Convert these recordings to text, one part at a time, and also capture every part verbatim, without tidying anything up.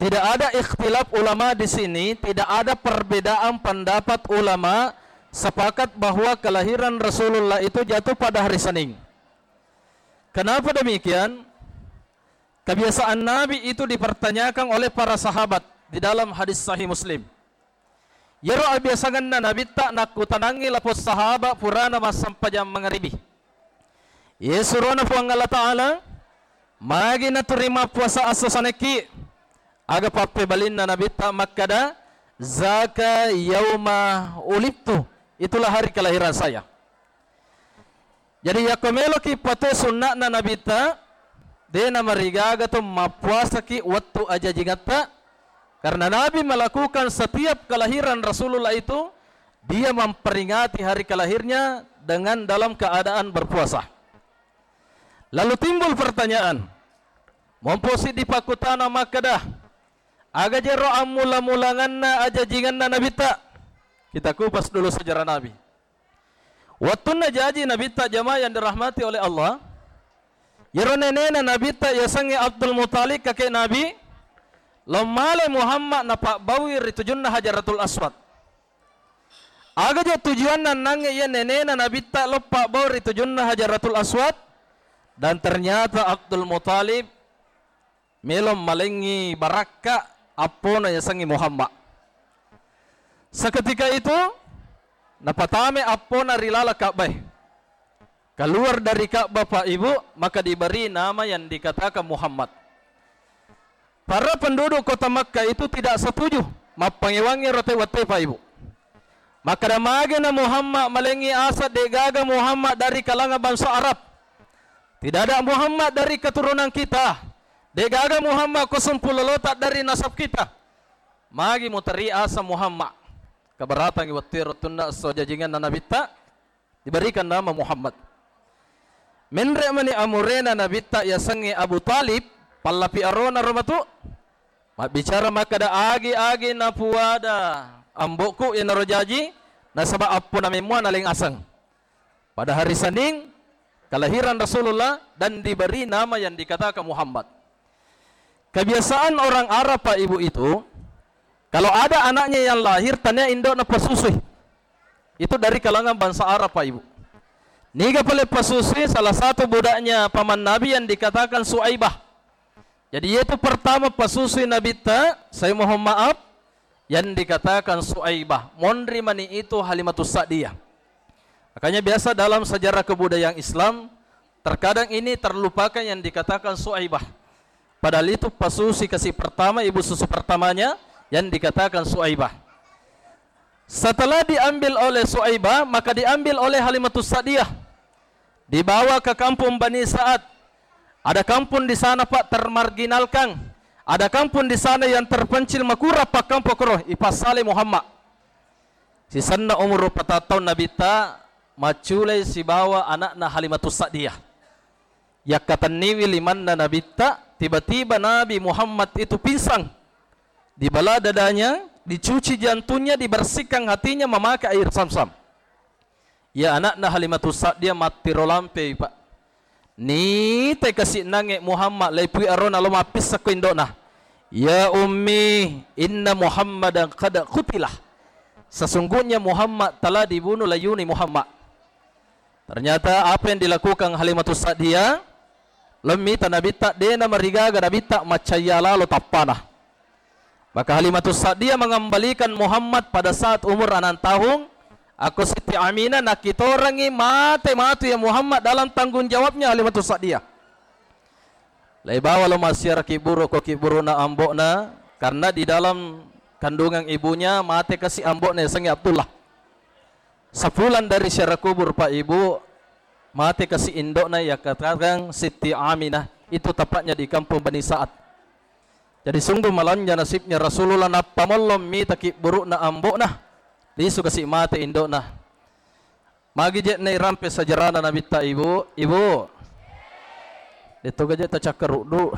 Tidak ada ikhtilaf ulama di sini, tidak ada perbedaan pendapat ulama sepakat bahwa kelahiran Rasulullah itu jatuh pada hari Senin. Kenapa demikian? Kebiasaan Nabi itu dipertanyakan oleh para sahabat di dalam hadis Sahih Muslim. Iyaro abiasangenna Nabitta nakkutanangngi lapong sahaba purana massempajang mangaribi. Iye surona Puang Allah Ta'ala, magi naturi mappuasa esso Senekki? Aga pappebalinna Nabitta makkada, "Zaka yauma ulidtu." Itulah hari kelahiran saya. Jadi, yakko meloki patue sunna'na Nabitta, de namarigaga to mappuasaki wettu ajajingatta, karena Nabi melakukan setiap kelahiran Rasulullah itu, dia memperingati hari kelahirnya dengan dalam keadaan berpuasa. Lalu timbul pertanyaan, mompo siddi pakkutana makkada, aga jero ammula-mulanganna ajajinganna Nabitta? Kita kupas dulu sejarah Nabi. Wettunna jaji Nabitta, jamaah yang dirahmati oleh Allah, iyaro nenena Nabitta yasengnge Abdul Muthalib, kakek Nabi, lommale Muhammad napabbaui ri tujunna Hajaratul Aswad. Aga je tujuanna nangnge iya nenena Nabitta loppabbaui ri tujunna Hajaratul Aswad? Dan ternyata Abdul Muthalib melo malengngi barakka appona yasengnge Muhammad. Seketika itu, napatame appona ri laleng Ka'bah. Keluar dari Ka'bah, Pak Ibu, maka diberi nama yang dikatakan Muhammad. Para penduduk kota Makkah itu tidak setuju mappangewangngi ro tau wettu, Pak Ibu. Makkada, "Magena Muhammad malengngi aseng, de'gaga Muhammad dari kalangan bangsa Arab. Tidak ada Muhammad dari keturunan kita. De'gaga Muhammad ko sumpulolota dari nasab kita. Magi muteri aseng Muhammad." Kabaratangngi wettu ero tunna esso jajinganna Nabitta, diberikan nama Muhammad. Menre mani amurena Nabitta yasengnge Abu Thalib, pallapi arona ro matu. Mabbicara makkada, "Agi-agi napuada ambo'ku iyanaro jaji, nasaba appona memmuwa naleng aseng." Pada hari Senin, kelahiran Rasulullah dan diberi nama yang dikatakan Muhammad. Kebiasaan orang Arab, Pak Ibu, itu, kalau ada anaknya yang lahir, tania indo'na pasusui. Itu dari kalangan bangsa Arab, Pak Ibu. Niga pale pasusui? Salah satu budaknya paman Nabi yang dikatakan Suaibah. Jadi, yaitu pertama pasusui Nabitta, saya mohon maaf, yang dikatakan Suaibah. Monri mani itu Halimatus Sa'diyah. Makanya biasa dalam sejarah kebudayaan Islam, terkadang ini terlupakan yang dikatakan Suaibah. Padahal itu pasusui kasi pertama, ibu susu pertamanya yang dikatakan Suaibah. Setelah diambil oleh Suaibah, maka diambil oleh Halimatus Sa'diyah. Dibawa ke kampung Bani Sa'ad. Ada kampung di sana, Pak, termarginalkan. Ada kampung di sana yang terpencil, makurang pakkampong koro, ipassalai Muhammad. Sisenna umur rupa taung Nabitta, macculai sibawa anakna Halimatus Sa'diyah. Yakkatenniwi limanna Nabitta, tiba-tiba Nabi Muhammad itu pingsan. Dibelah dadanya, dicuci jantungnya, dibersihkan hatinya memakai air Zamzam. Iya anakna Halimatus Sa'diyah mattiro lampei, Pak. Nitai kasi nangnge Muhammad, laipui arona lo mappissakko indo'na. "Ya ummi, inna Muhammadan qad qutilah." Sesungguhnya Muhammad telah dibunuh, layuni Muhammad. Ternyata apa yang dilakukan Halimatus Sa'diyah, lo mita Nabitta, de namarigaga Nabitta maccayya lalo tappana. Maka Halimatus Sa'diyah mengembalikan Muhammad pada saat umur enam tahun. Akko Siti Aminah nakkitorangngi, mate matu ya Muhammad dalam tanggung jawabnya Halimatus Sa'diyah. Laibawa lo massiara kibburu ko kibburu'na ambo'na, karena di dalam kandungan ibunya mate kasi ambo'na yasengnge Abdullah. Sepulang dari ziarah kubur, Pak Ibu, mate kasi indo'na, yakkatakang Siti Aminah. Itu tepatnya di kampung Bani Sa'ad. Jadi, sungguh malanja nasibnya Rasulullah, nappa mollong mita kibburu'na ambo'na, lisu kasi mate indo'na. Magi je' nairampe sajarana Nabitta, Ibu? Ibu, de' toga je' tacakkaruddu.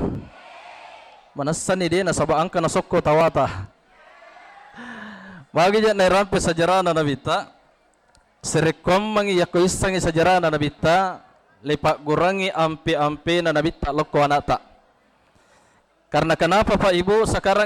Manessani de' nasaba' engka nasokko tawata. Magi je' nairampe sajarana Nabitta? Sarekkuammengngi yakko issengngi sajarana Nabitta, leipaggurangngi ampe-ampena Nabitta lokko ana'ta. Karena kenapa, Pak Ibu, sekarang